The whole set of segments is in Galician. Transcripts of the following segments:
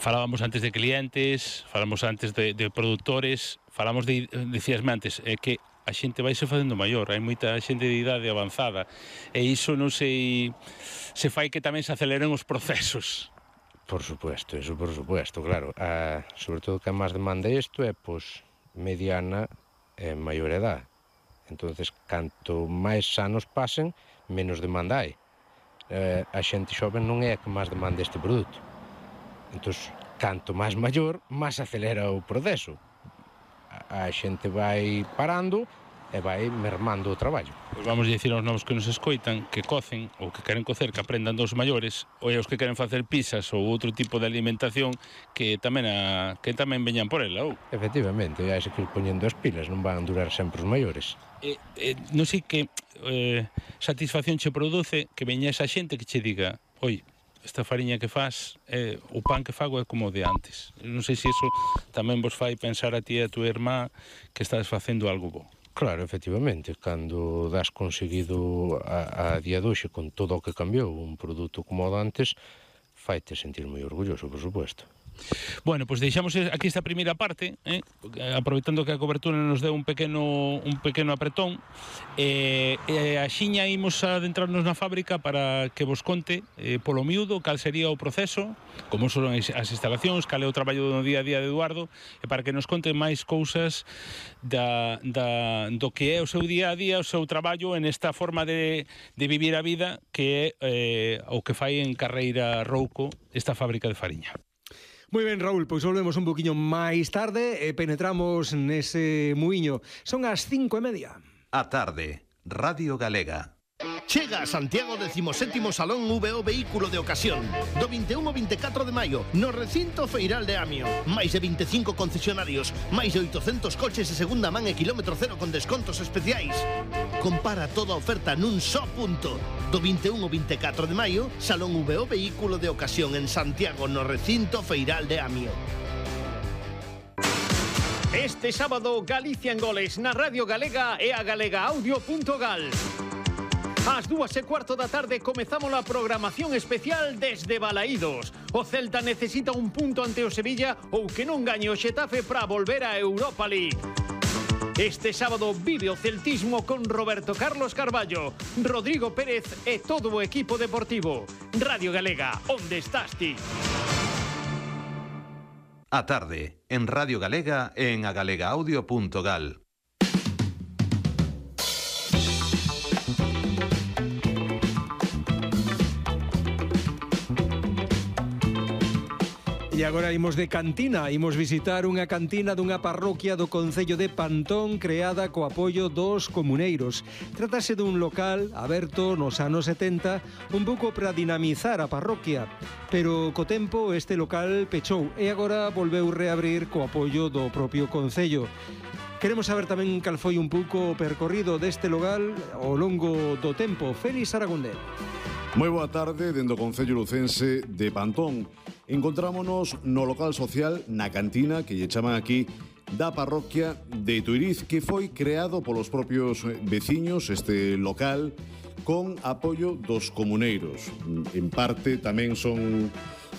Falábamos antes de clientes, falamos antes de produtores, falamos decíasme antes, que a xente vaise facendo maior, hai moita xente de idade avanzada, e iso non sei se fai que tamén se aceleren os procesos. Por supuesto, eso por supuesto, claro. Sobre todo que máis demanda isto é, pois, mediana e maior edad. Entonces, canto máis anos pasen, menos demanda hai. A xente xoven non é a que máis demanda este produto. Entón, canto máis maior, máis acelera o proceso. A xente vai parando e vai mermando o traballo. Pois vamos dicir aos novos que nos escoitan que cocen ou que queren cocer, que aprendan dos maiores, ou aos que queren facer pizzas ou outro tipo de alimentación que tamén veñan por ela, ou? Efectivamente, hai que ir poñendo as pilas, non van durar sempre os maiores. Non sei que satisfacción che produce que veña esa xente que che diga: oi, esta fariña que faz, o pan que fago é como o de antes. Non sei se iso tamén vos fai pensar a ti e a tua irmá que estás facendo algo bo. Claro, efectivamente, cando das conseguido a día de hoxe con todo o que cambiou un produto como o de antes, faite sentir moi orgulloso, por suposto. Bueno, pois deixamos aquí esta primeira parte, aproveitando que a cobertura nos deu un pequeno apretón, e axiña imos a adentrarnos na fábrica para que vos conte polo miúdo cal sería o proceso, como son as instalacións, cal é o traballo do día a día de Eduardo, e para que nos conte máis cousas do que é o seu día a día, o seu traballo en esta forma de vivir a vida que é o que fai en Carreira Rouco esta fábrica de fariña. Moi ben, Raúl, pois volvemos un poquinho máis tarde e penetramos nese muiño. Son as 5:30. A tarde, Radio Galega. Chega a Santiago 17º Salón VO Vehículo de Ocasión do 21 ao 24 de maio no recinto feiral de Amio. Máis de 25 concesionarios, máis de 800 coches de segunda man e kilómetro cero con descontos especiais. Compara toda a oferta nun só punto. Do 21 ao 24 de maio, Salón VO Vehículo de Ocasión en Santiago no recinto feiral de Amio. Este sábado, Galicia en goles na Radio Galega e a galegaaudio.gal. Ás 2:15 da tarde comezamos a programación especial desde Balaídos. O Celta necesita un punto ante o Sevilla ou que non gañe o Xetafe para volver a Europa League. Este sábado vive o celtismo con Roberto Carlos Carballo, Rodrigo Pérez e todo o equipo deportivo. Radio Galega, onde estás ti? A tarde, en Radio Galega e en agalegaaudio.gal. E agora imos de cantina, imos visitar unha cantina dunha parroquia do concello de Pantón creada co apoio dos comuneiros. Trátase dun local aberto nos anos 70 un pouco para dinamizar a parroquia, pero co tempo este local pechou e agora volveu reabrir co apoio do propio concello. Queremos saber tamén cal foi un pouco o percorrido deste local ao longo do tempo. Félix Aragondé. Moi boa tarde, dende o Concello Lucense de Pantón. Encontrámonos no local social, na cantina, que lle chaman aquí, da parroquia de Tuiriz, que foi creado polos propios veciños, este local, con apoio dos comuneiros. En parte tamén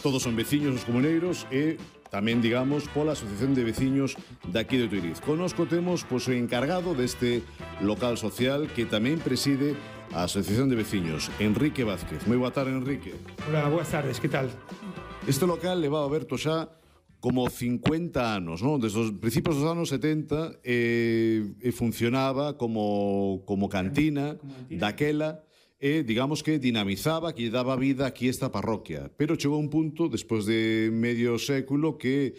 todos son veciños os comuneiros e tamén, digamos, pola Asociación de Veciños daqui de Tuiriz. Connosco temos o encargado deste local social que tamén preside a Asociación de Veciños, Enrique Vázquez. Moi boa tarde, Enrique. Hola, boas tardes, que tal? Este local leva aberto xa como 50 anos, non? Desde os principios dos anos 70 e funcionaba como cantina daquela e, digamos que dinamizaba, que daba vida aquí esta parroquia. Pero chegou un punto, despois de medio século, que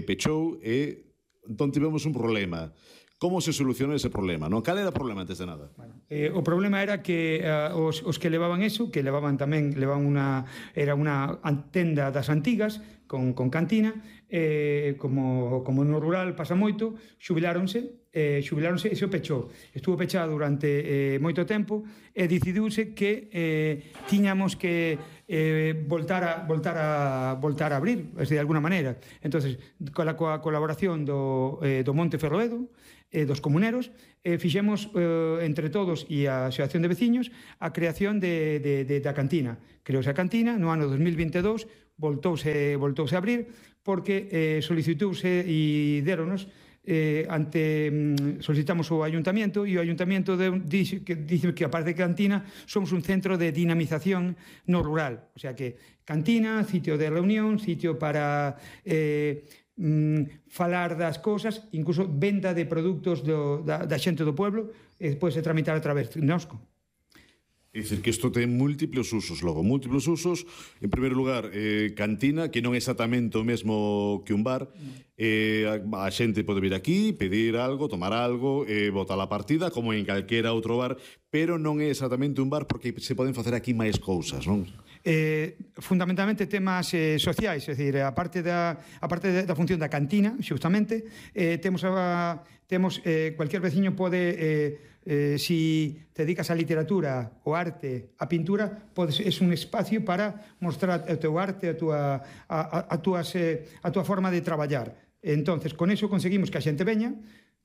pechou e entón tivemos un problema. Como se solucionou ese problema, non? Cal era o problema antes de nada? Bueno, o problema era que os que levaban eso, que levaban era unha tenda das antigas con cantina, como no rural pasa moito, xubiláronse e se o pechou. Estuvo pechado durante moito tempo e decidiuse que tiñamos que voltar a abrir, de alguna maneira. Entonces, coa colaboración do Monte Ferroedo, dos comuneros, fixemos entre todos e a Asociación de Veciños a creación da cantina. Creouse a cantina no ano 2022 voltouse a abrir porque solicitouse e déronos solicitamos ao Ayuntamiento e o Ayuntamiento dice que aparte de cantina somos un centro de dinamización no rural, o sea que cantina, sitio de reunión, sitio para falar das cousas, incluso venda de produtos da xente do pueblo, pode tramitar a través de nosco. É dicir, que isto ten múltiplos usos, logo, múltiplos usos. En primeiro lugar, cantina, que non é exactamente o mesmo que un bar. A xente pode vir aquí, pedir algo, tomar algo, botar a partida, como en calquera outro bar, pero non é exactamente un bar porque se poden facer aquí máis cousas, non? Fundamentalmente temas sociais, é dicir, a parte da función da cantina, xustamente, temos cualquier veciño pode si te dedicas á literatura, ao arte, á pintura, é un espacio para mostrar o teu arte, a túa forma de traballar. Entonces, con eso conseguimos que a xente veña,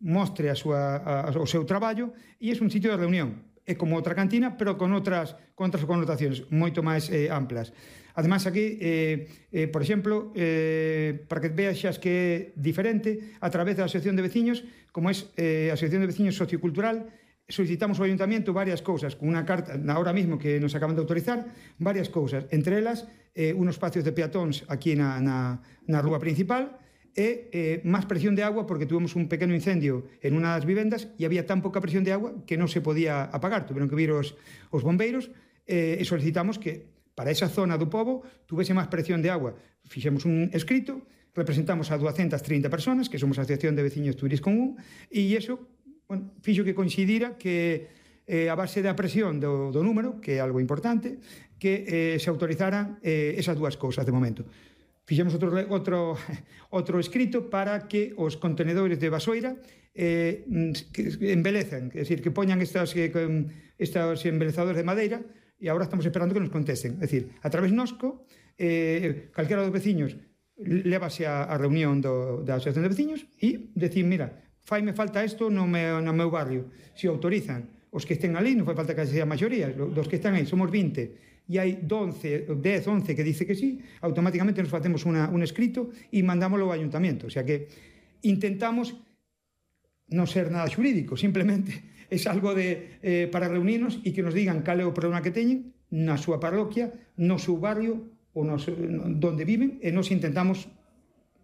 mostre o seu traballo e é un sitio de reunión. É como outra cantina, pero con outras connotacións moito máis amplas. Ademais, aquí, por exemplo, para que vexas que é diferente, a través da Asociación de Veciños, como é a Asociación de Veciños Sociocultural, solicitamos ao Ayuntamiento varias cousas, con unha carta, ahora mismo que nos acaban de autorizar, varias cousas, entre elas, unos espacios de peatóns aquí na rúa principal, e máis presión de agua, porque tuvimos un pequeno incendio en unha das vivendas e había tan pouca presión de agua que non se podía apagar, tuveron que vir os bombeiros, e solicitamos que para esa zona do pobo tuvese máis presión de agua. Fixemos un escrito, representamos a 230 personas, que somos a Asociación de Veciños Tuiris Común, e iso fixo que coincidira que a base da presión do número, que é algo importante, que se autorizaran esas dúas cousas de momento. Fixemos outro escrito para que os contenedores de basoira embelezan, é dicir, que poñan estos embelezadores de madeira, e agora estamos esperando que nos contesten. É dicir, a través nosco, calquera dos veciños lévase a reunión da Asociación de Veciños e decir, mira, faime falta isto no meu barrio. Se autorizan os que estén ali, non fai falta que sea a maioría, dos que están aí, somos 20, e hai 10, 11 que dice que sí, automáticamente nos facemos un escrito e mandámoslo ao Ayuntamiento. O sea que intentamos non ser nada xurídico, simplemente é algo para reunirnos e que nos digan cal é o problema que teñen na súa parroquia, no seu barrio, ou donde viven, e nos intentamos,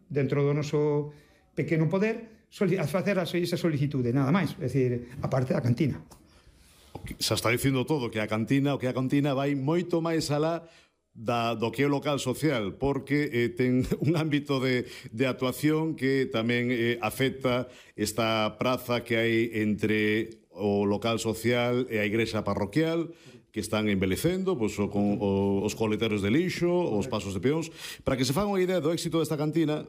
dentro do noso pequeno poder, facer esa solicitude, nada máis, é dicir, a parte da cantina. Xa está dicindo todo, que a cantina vai moito máis alá do que é o local social, porque ten un ámbito de actuación que tamén afecta esta praza que hai entre o local social e a igrexa parroquial, que están embelecendo, con os coleteiros de lixo, os pasos de peóns. Para que se faga unha idea do éxito desta cantina,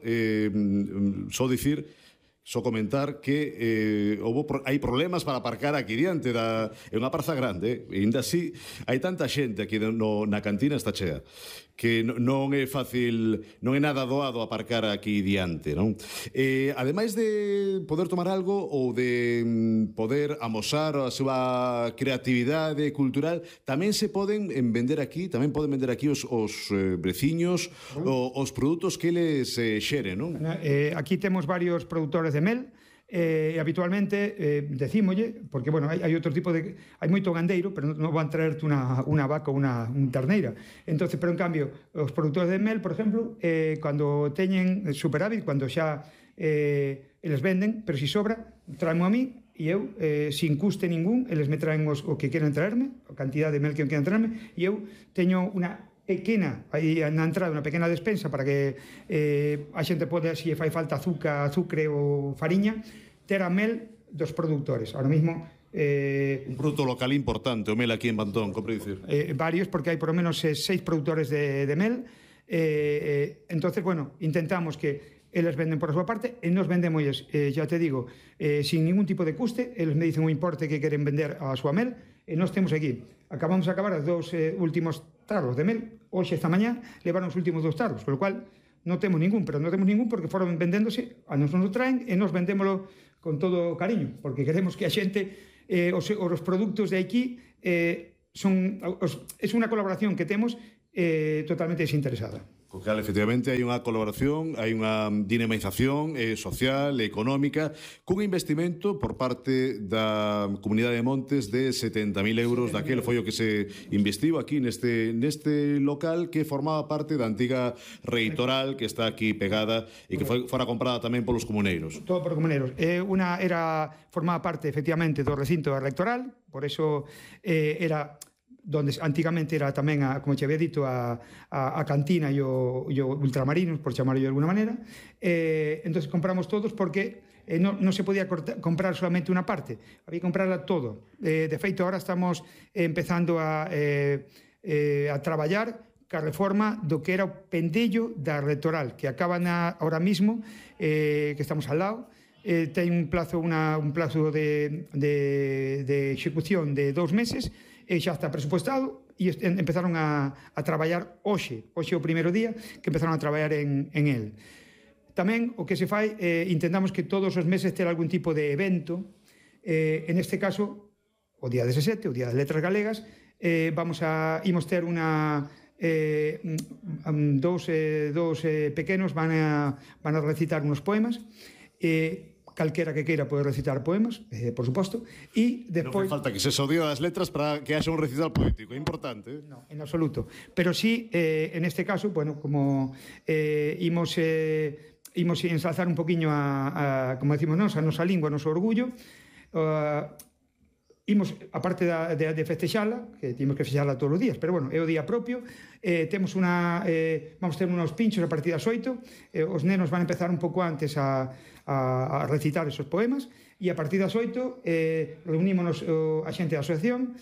só comentar que hai problemas para aparcar aquí diante, é unha praza grande, e ainda así hai tanta xente aquí na cantina, está chea, que non é fácil, non é nada doado aparcar aquí diante, non? Ademais de poder tomar algo ou de poder amosar a súa creatividade cultural, tamén se poden vender aquí, os veciños os produtos que eles xeren, non? Aquí temos varios produtores de mel, habitualmente decímolle, porque, bueno, hai outro tipo de... Hai moito gandeiro, pero non van traerte unha vaca ou unha terneira. Entonces, pero, en cambio, os produtores de mel, por exemplo, cando teñen superávit, cando xa eles venden, pero si sobra, traemo a mí, e eu, sin custe ningún, eles me traen o que queren traerme, a cantidad de mel que queren traerme, e eu teño unha pequena, aí na entrada unha pequena despensa para que a xente pode, se fai falta azucre ou fariña, ter a mel dos produtores. Ahora mismo un produto local importante, o mel aquí en Pantón, compre dicir. Varios, porque hai por lo menos 6 produtores de mel. Entonces, bueno, intentamos que eles venden por a súa parte e nos vendemos, ya te digo, sin ningún tipo de custe. Eles me dicen o importe que queren vender a súa mel e nós temos aquí. Acabamos de acabar os 2 últimos tarros de mel. Hoxe, esta mañá, levaron os últimos 2 tarros, con lo cual non temos ningún, pero non temos ningún porque foron vendéndose, a nos traen e nos vendémolo con todo cariño, porque queremos que a xente, os produtos de aquí, é unha colaboración que temos totalmente desinteresada. Co cal, efectivamente, hai unha colaboración, hai unha dinamización social, económica, cun investimento por parte da Comunidade de Montes de 70.000 euros, daquele foi o que se investiu aquí neste local que formaba parte da antiga reitoral que está aquí pegada e que fora comprada tamén polos comuneiros. Todo por comuneiros. Formaba parte, efectivamente, do recinto electoral, por eso era donde antigamente era tamén, como te había dito, a cantina e o ultramarinos, por chamarlo de alguna manera. Entonces compramos todos porque non se podía comprar solamente unha parte, había que comprarla todo. De feito, ahora estamos empezando a traballar ca reforma do que era o pendello da Rectoral, que acaban ahora mismo, que estamos al lado. Ten un plazo de execución de 2 meses, xa está presupuestado e empezaron a traballar hoxe o primeiro día que empezaron a traballar en el. Tamén o que se fai, intentamos que todos os meses ter algún tipo de evento, en este caso o día 17, o día das letras galegas, imos ter dous pequenos van a recitar unos poemas, calquera que queira pode recitar poemas, por suposto, e despois... Non falta que se odiou as letras para que haxa un recital poético, é importante. Non, en absoluto. Pero sí, en este caso, bueno, como imos ensalzar un poquinho como decimos nós, a nosa lingua, o noso orgullo, imos, aparte de festexala, que temos que festexala todos os días, pero bueno, é o día propio, vamos ter unos pinchos a partir das 8, os nenos van a empezar un pouco antes a recitar esos poemas, e a partir das 8 reunímonos a xente da asociación,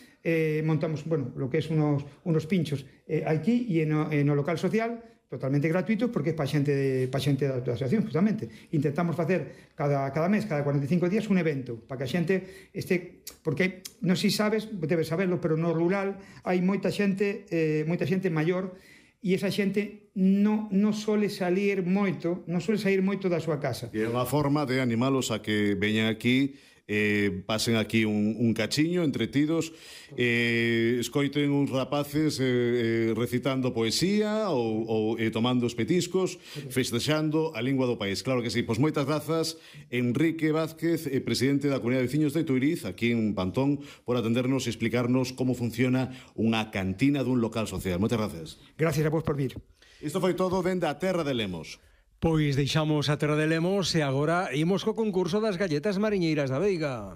montamos, bueno, lo que é unos pinchos aquí e no local social, totalmente gratuitos, porque é para xente da asociación, justamente. Intentamos facer cada mes, cada 45 días, un evento, para que a xente este, porque non sei se sabes, debes saberlo, pero no rural hai moita xente maior, e esa xente non sole sair moito da súa casa. E é unha forma de animalos a que veñan aquí, pasen aquí un cachiño entretidos, escoiten uns rapaces recitando poesía ou tomando os petiscos, festexando a lingua do país. Claro que sí. Pois moitas grazas, Enrique Vázquez, presidente da Comunidade de Veciños de Tuiriz, aquí en Pantón, por atendernos e explicarnos como funciona unha cantina dun local social. Moitas gracias. Gracias a vos por vir. Isto foi todo dende a Terra de Lemos. Pois deixamos a Terra de Lemos e agora imos co concurso das galletas mariñeiras da Veiga.